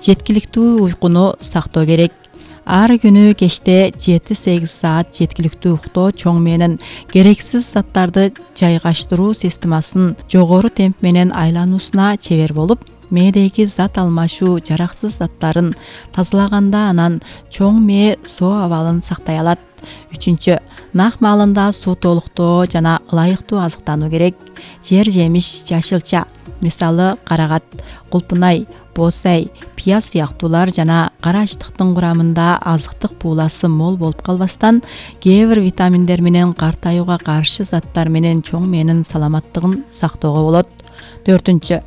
Жеткиликтүү уйкуну сактоо керек. Ар күнү кечте 7-8 саат жеткиликтүү уктоо чоң менен керексиз заттарды жайгаштыруу системасынын жогору темп менен айлануусуна чебер болуп, мээдеги зат алмашуу жараксыз заттарын тазалаганда анан чоң мээ соо абалын сактай алат. 3. Нак маалында суу толуктоо жана ылайыктуу азыктануу керек. Жер жемиш, жашылча, мисалы карагат, кулпунай, боосай, пияз сыяктуулар жана кара ачтыктын курамында азыктык бууласы мол болуп калбастан, кээ бир витаминдер менен картаюуга каршы заттар менен чоң мээнин саламаттыгын сактоого болот. 4.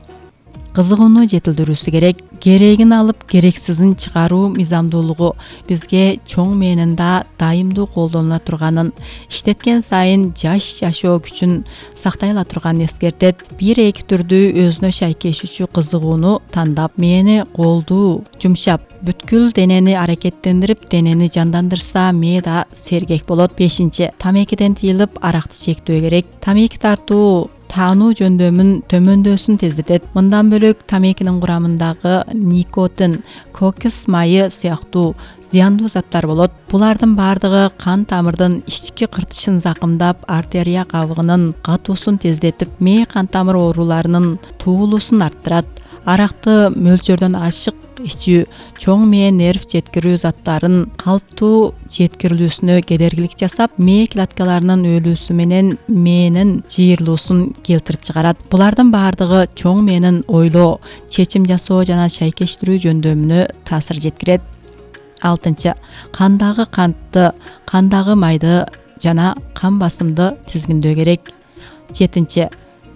Кызыгууну жетилдирүүсү керек. Керегин алып, керексизин чыгаруу мыйзамдуулугу бизге чоң мээнинда дайымдуу колдонула турганын, иштеткен сайын жаш жашоо күчүн сактай ала турганын эскертет. 1-2 түрдүү өзүнө шайкешүүчү кызыгууну тандап, мээни колдуу, жумшап, бүткүл денени аракеттендирип, денени жандандырса, мээ да сергек болот. 5. Тамекиден тыйылып, аракты чектөө керек. Тамеки тартуу таануу жөндөмүн төмөндөсүн тездетет. Мындан бөлөк тамекинин курамындагы никотин, кокос майы сыяктуу зыяндуу заттар болот. Булардын бардыгы кан тамырдын ички кыртышын закымдап, артерия кабыгынын катуусун тездетип, мээ кан тамыр ооруларынын туулуусун арттырат. Аракты мөлчөрдөн ашык ичүү чоң мээ нерв жеткирүү заттарын калптуу жеткирилүүсүнө кедергилик жасап, мээ клеткаларынын өлүүсү менен мээнин жыйырылуусун келтирип чыгарат. Булардын бардыгы чоң мээнин ойлоо, чечим жасоо жана шайкештирүү жөндөмүнө таасир жеткирет. 6. Кандагы кантты, кандагы майды жана кан басымды тизгиндөө керек. 7.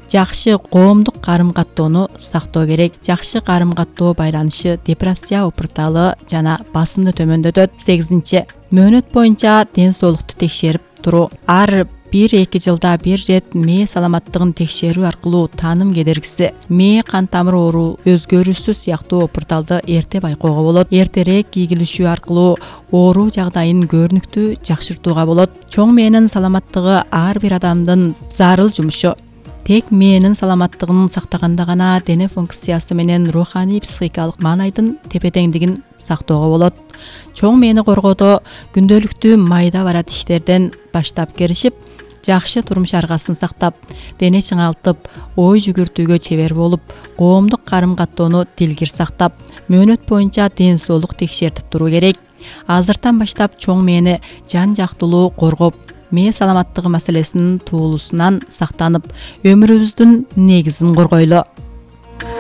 Жакшы коомдук карым-каттоону сактоо керек. Жакшы карым-каттоо байланышы депрессия опурталы жана басымды төмөндөтөт. 8. Мөөнөт боюнча ден соолукту текшерип туруу. Ар 1-2 жылда бир рет мээ саламаттыгын текшерүү аркылуу тааным кедергиси, мээ кан тамыр оору өзгөрүүсү сыяктуу опурталды эрте байкоого болот. Эртерээк ийгилишүү аркылуу оору жагдайын көрүнүктүү жакшыртууга болот. Чоң мээнин саламаттыгы ар бир адамдын зарыл жумушу. Тек мээнин саламаттыгын сактаганда гана дене функциясы менен руханий психикалык маанайдын тепе-теңдигин сактоого болот. Чоң мээни коргоодо күндөлүктүү майда барат иштерден баштап киришип, жакшы турмуш аргасын сактап, дене чыңалтып, ой жүгүртүүгө чебер болуп, коомдук карым-каттоону дилгир сактап, мөөнөт боюнча ден соолук текшертип туруу керек. Азыртан баштап чоң мээни жан жактылуу коргоп, мээ саламаттыгы маселесинин туулуусунан сактанып, өмүрүбүздүн негизин коргойлу.